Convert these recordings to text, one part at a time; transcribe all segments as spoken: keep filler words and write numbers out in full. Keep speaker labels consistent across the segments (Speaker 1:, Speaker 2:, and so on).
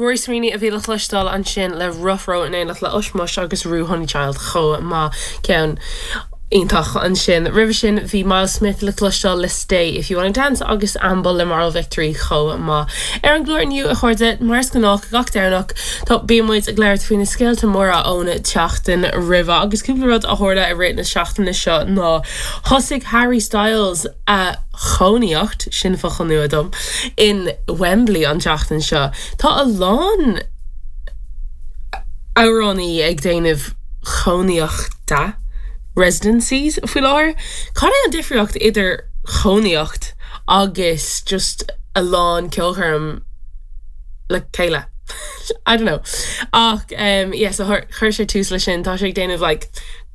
Speaker 1: Rory Sweeney a bhí le cloisteáil ansin le Rough Row in éineacht le Ushmush agus Ruadh Honeychild chomh maith ceann iontach ansin. Roimhe sin bhí Myles Smith le cloisteáil le Stay if you wanna dance agus Amble le Moral Victory chomh maith. Ar an gclár inniu a chairde mar is gnách gach Domhnach tá bíonn muid ag labhairt faoi na scéalta móra ón tseachtain roimhe agus cúpla rud a tharla i rith na seachtaine seo ná thosaigh Harry Styles a chónaíocht sin focal nua dom in Wembley an tseachtain seo. Tá a lán amhránaí ag déanamh cónaíochta residencies faoi láthair. Cad é an difríocht idir chónaíocht agus just a lán ceolchoirm le chéile. I don't know. Ach um, yeah, so chuir sé tús leis sin tá sé ag déanamh like,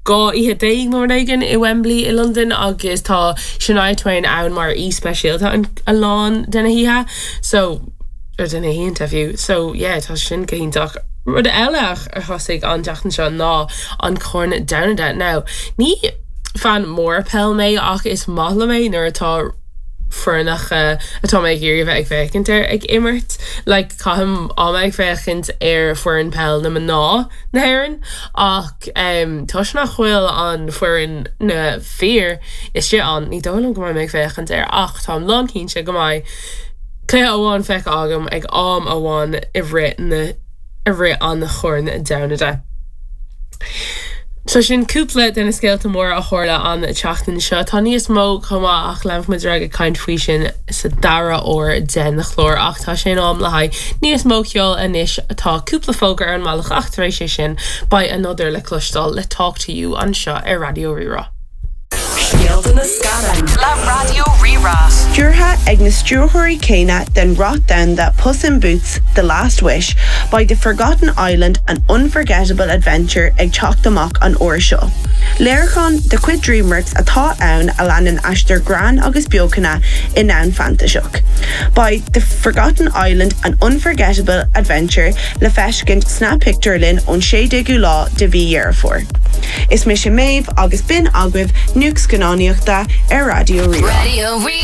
Speaker 1: dhá oíche déag mar éigin i Wembley i London agus tá Shania Twain ann mar aoi speisialta a lán de na hoíche so ar de na hoícheanta fiú so yeah, tá sin go hiontach. Rud eile a thosaigh an tseachtain seo ná an Corn Domhanda. Now ní fan mór peil mé ach is maith liom é nuair atá foirne atá mé ag iarraidh bheith ag féachaint ar ag imirt, like caithim am ag féachaint ar foireann peil na mná na hÉireann ach um, toisc nach bhfuil an foireann na bhfear istigh ann ní dóigh liom go mbeidh mé ag féachaint air ach táim lánchinnte go mbeidh cluiche amháin feicthe agam ag am amháin i rith na i rith an Chorn Domhanda. So sin cúpla de na scéalta móra a tharla an tseachtain seo Tá níos mó chomh maith ach leanfaimid ag caint faoi sin sa dara huair den chlár ach tá sé in am le haghaidh níos mó ceoil anois atá cúpla fógra ar an mbealach ach tar éis sin beidh Another le cloisteáil le Talk to You anseo ar Raidió Rí-Rá.
Speaker 2: Scéalta na scannán le Raidió Rí-Rá.
Speaker 3: Stiúrtha ag na stiúrthóirí céanna den rath domhanda Puss in Boots, The Last Wish, beidh The Forgotten Island an unforgettable adventure ag teacht amach an uair seo. Léiriúchán de chuid DreamWorks atá ann a leanann aistear greann agus beochana i ndomhan fantaiseach. Beidh The Forgotten Island an unforgettable adventure le feiscint sna pictiúrlanna ón sé déagú lá de mhí Dheireadh Fómhair. Is mise Méabh agus b'in agaibh nuacht scannánaíochta ar Raidió Rí-Rá.
Speaker 2: Radio Rí